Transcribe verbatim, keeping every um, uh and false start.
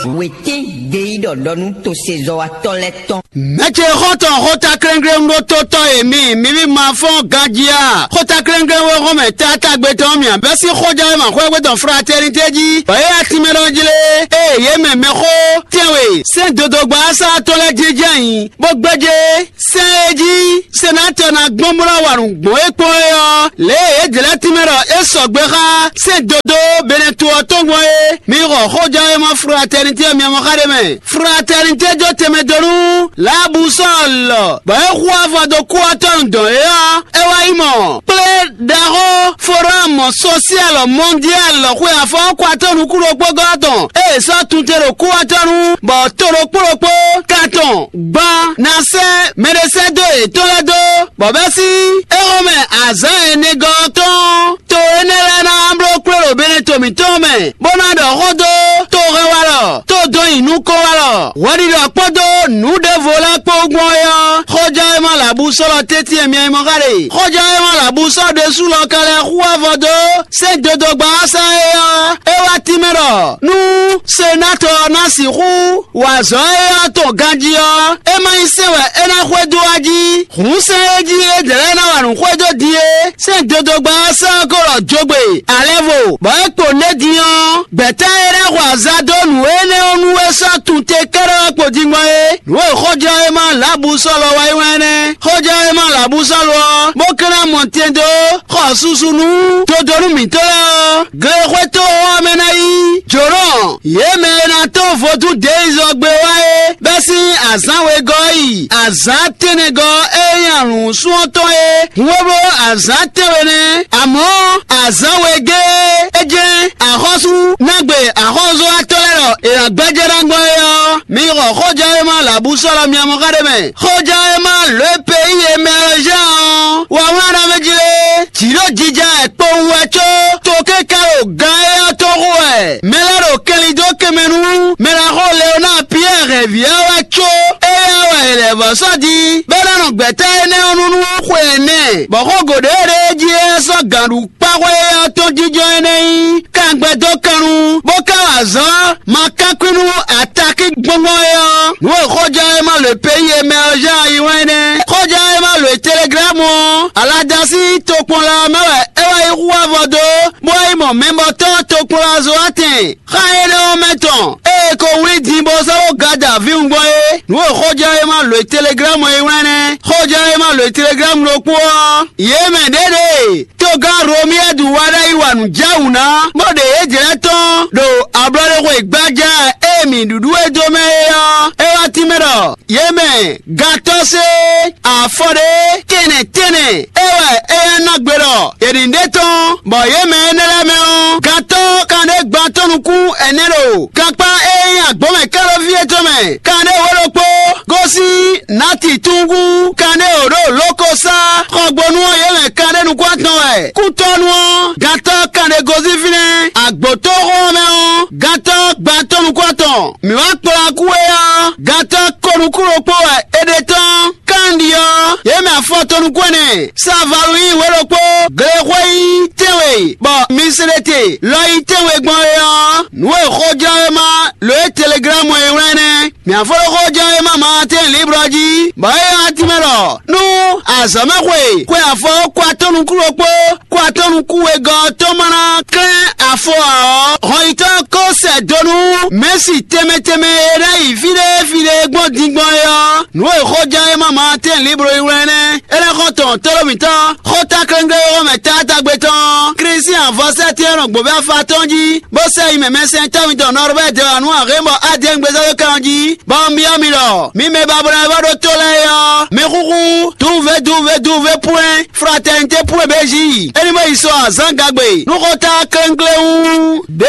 Wětín ɖe yí ɖɔ ɖɔ nú tosezɔ́watɔ́ lɛ́ɛ tɔn. Mɛ̌ ce xɔ́ntɔn xótaklɛ́nglɛ́n ɖótótɔ́ e mi, mi ví ma fɔ́n ganjí a? Xótaklɛ́nglɛ́n wé hɔn mɛ taátagbe tɔn mì abɛ́ sín xójɛ́wéma xwɛ́gbé tɔn Fratɛ́nitɛ́ jí, bɔ é wá tínmɛ ɖɔ jí lé? Ée yě mɛ mɛxó tɛ́nwe sɛ́n dodogba ɔ́ sá tɔn lɛ́ɛ jínjɔ́n ayǐ, bó gbéjé sɛ́n e jí senatɔ ná gbɔn bó ná wa nǔ gbɔn é kpɔ́n é ɔ́, lě e yě jlɛ́ tínmɛ ɖɔ é sɔgbe xá sɛ́n dodó Benɛto ɔ́ tɔn gbɔn é. Mi xɔ xójɛ́wéma Fratɛ́nitɛ́ ɔ́ mɛ mɔ xá ɖé mɛ. Fratɛ́nitɛ́ jó tɛnmɛ dó nú Labusɔ́ɔlɔ, bɔ é hu avɔ dó kú ɔ́ tɔn dɔn é ɔ́, é wá yi mɔ kplé ɖaxó Forámu sosialɔ mɔndialɔ xwe afɔkwa tɔn nukúnɖokpógɔ́ tɔn, ée è sɔ́ tunte ɖo kúwatɔ́ nu, bɔ to ɖokpó ɖokpó, katɔn, gban, ná sɛ́ mɛɖesɛ́dó yětɔn lɛ́ɛ dó, bɔ bɛ́ sín éhɔ́mɛ azǎn ɛnɛgɔ́ ɔ́ tɔn. To énɛ́ lɛ́ɛ ná bló kplé ɖo Benɛto mǐtɔn mɛ, bó ná ɖɔ xó dó tohɛnwalɔ, tó dɔn nyi nukɔnwalɔ, hwɛɖiɖɔ kpódó nǔ ɖěvo lɛ́ɛ kpó gbɔn é ɔ́, xɔjɛ́wéma lɛ̌ bú sɔ́ lɔ tɛ́ntin e mi nyí mɔ xá ɖe. Xɔjɛ́wéma lɛ̌ bú sɔ́ ɖésú lɔ ka lɛ́ hu avɔ dó sɛ́n dodogba ɔ́ sá é ɔ́, é wá tínmɛ ɖɔ nú senátɔ ɔ́ ná sixú wa azɔ̌ éyɛ́ ɔ́ tɔn ganjí ɔ́, é má nyí sɛ́n wɛ é ná xwedó wá jí. Hǔn sɛ́n e jí é dlɛ̌ ná wa nǔ xwedó din é, sɛ́n dodogba ɔ́ sɛ́ ɔ́ ko ɖɔ jogbe alɛvo, bɔ é kpo nɛ́ din ɔ́, gbɛ̌ta e ná xɔ azǎn dó nǔ énɛ́ ɔ́ nu é sɔ́ tunte kɛ́ɖɛ́ ɔ́ kpo din gbɔn é. Nǔ e xɔjɔ́ e ma lǎbǔ sɔ́ lɔ wá yi wɛn nɛ́. Xɔjɔ́ e ma lǎbǔ sɔ́ lɔ ɔ́, bó ka ná mɔ tɛn dó xɔ susu nú dodonu mǐtɔn lɛ́ɛ ɔ́, glexwétɔ́ ɔ́ mɛ ná yí jǒnɔ yě mɛ e ná tɔ́n vodún deizɔ gbe wá é, bɛ́ sín azǎn wegɔ́ yi azǎn tɛ́nnɛgɔ́ e nyí alǔnsun ɔ́ tɔn é. Hun e bló azǎn tɛ́nwe nɛ́, amɔ̌ azǎn wegɛ́ é jɛ́n axɔ́sú ná gbe axɔ́zɔ́watɔ́ lɛ́ɛ ɖɔ è nǎ gbɛ́jɛ́ ná gbɔn é ɔ́, mi xɔ xɔjɛ́wéma lǎbúsɔ́lɔ miamɔ́ xá ɖé mɛ. Xɔjɛ́wéma lǒ e peyi e mɛ ɔ́ zán ɔ́, wa wlán ɖɔ mɛ jí lé? Jǐ ɖo jija wɛ kpowun wɛ có, tokéká ɖo gan éyɛ́ tɔn xo wɛ. Mɛ lɛ́ɛ ɖo kɛnlin dó kɛnmɛ nú mɛ ná xo Leonáa Piyɛ́ɛ hɛ̌nví ɔ́ wɛ có, éyɛ́ wɛ è lɛ̌ vɔ́ sɔ́ din, bɔ é ná nɔ gbɛ̌ta énɛ́ ɔ́ nu nú xwe ɛnɛ, bɔ xógo ɖě e ɖe é jí é sɔ́ gǎn ɖu kpá xwé ɔ́ tɔn jínjɔ́n énɛ́ nyí kangbɛdókannu, bó ka wa azɔ̌ ma kánkún nú atakí gbɔngbɔn é ɔ́. Nǔ e xɔjɔ́ e ma lǒ peyi e mɛ ɔ́ zán yi wɛn nɛ́. Xɔjɔ́ e ma lǒ teleglámu ɔ́, aladasí tokpɔnla ɔ́ mɛ wɛ é wá yi hu avɔ dó, bó wá yi mɔ mɛbɔtɔ́ tokpɔnla Zoatɛn. Xá énɛ́ ɔ́ mɛ tɔn, ée è ko wlí din bó sɔ́ ɖó Gada vǐwungbo é, nǔ e xɔjɔ́ e ma lǒ teleglámu e wlán nɛ́. Xɔjɔ́ e ma lǒ teleglámu ɖokpó ɔ́, yě mɛ ɖěɖée togán Romiyɛ́du wá ɖ'ayǐ wa nǔ jɛ wǔ ná, bó ɖe yě jlɛ́ tɔ́n ɖo ablɔɖexwe gbájá e mǐ ɖuɖu e dó mɛ é ɔ́, é wá tínmɛ ɖɔ yě mɛ gantɔ́ sé afɔ ɖé kɛnɛ tɛnɛ é wɛ éyɛ́ ná gbe ɖɔ è nǐ ɖe tɔn, bɔ yě mɛ énɛ́ lɛ́ɛ mɛ ɔ́, gantɔ́ kanɖé gban tɔn nukún ɛnɛ ɖo gankpá e nyí agbǒmɛ kɛ́ɖɔví étɔn mɛ, kanɖé wǒ ɖokpó gosín nǎti túngún kanɖé wǒ ɖo lǒkosá xɔgbónú ɔ́ yě mɛ kanɖé nukún atɔn wɛ. Kútɔ́nú ɔ́, gantɔ́ kanɖé gosín fínɛ́, agbǒtóxó ɔ́ mɛ ɔ́, gantɔ́ gban tɔn nukún atɔn. Mǐ wá kplá kú é ɔ́, gantɔ́ ko nukún ɖokpó wɛ è ɖe tɔ́n. Kandi ɔ́, yě mɛ afɔ tɔn nukún ɛnɛ, Savalu yí wě ɖokpó, glexwé yí tɛ́nwe, bɔ Mislete lɔ yí tɛ́nwe gbɔn é ɔ́, nǔ e xɔjɔ́wéma lǒ e teleglámu e wlán nɛ́. Mǐ afɔlɔ́xɔjɔ́wéma Maatɛ́n Liblɔ jí, bɔ é nyí atímɛ ɖɔ nú azɔ̌mɛxwe xwe afɔ kó atɔ́ nukún ɖokpó, kó atɔ́ nukún wegɔ́ ɔ́ tɔn ma ná klɛ́n afɔ ǎ ɔ́, hɔnyitɔ́ ko sɛ do nú Mɛ̌si tɛnmɛ tɛnmɛ e ná yi fí ɖé fí ɖé gbɔn din gbɔn é ɔ́, nǔ e xɔjɔ́wéma Maatɛ́n Liblɔ yí wlán nɛ́. É ná xɔ tɔn tlóló mǐtɔn, xóta klɛ́ngbɛ́ e xɔmɛ taátagbe tɔn, Klísian vɔ̌sɛ́tɛ́nɔ gbǒvɛ́ afa tɔn jí, bó sɛ yi mɛ mɛsɛntɔ́ mitɔn Nɔrbɛ́ɛ dɛwanu Ahémɔ Adɛ́ngbezɔ́ kan jí, bɔ un byɔ́ mi ɖɔ mi mɛ ba bló wɛ vɔ ɖó tó lɛ́ɛ é ɔ́, mi xúxú duve duve duve pwɛ́n fratɛnitɛ́ pwɛ́n bějí. É ní mɔ yi sɔ azǎn gagbe nú xóta klɛ́nklɛ́n wú ɖě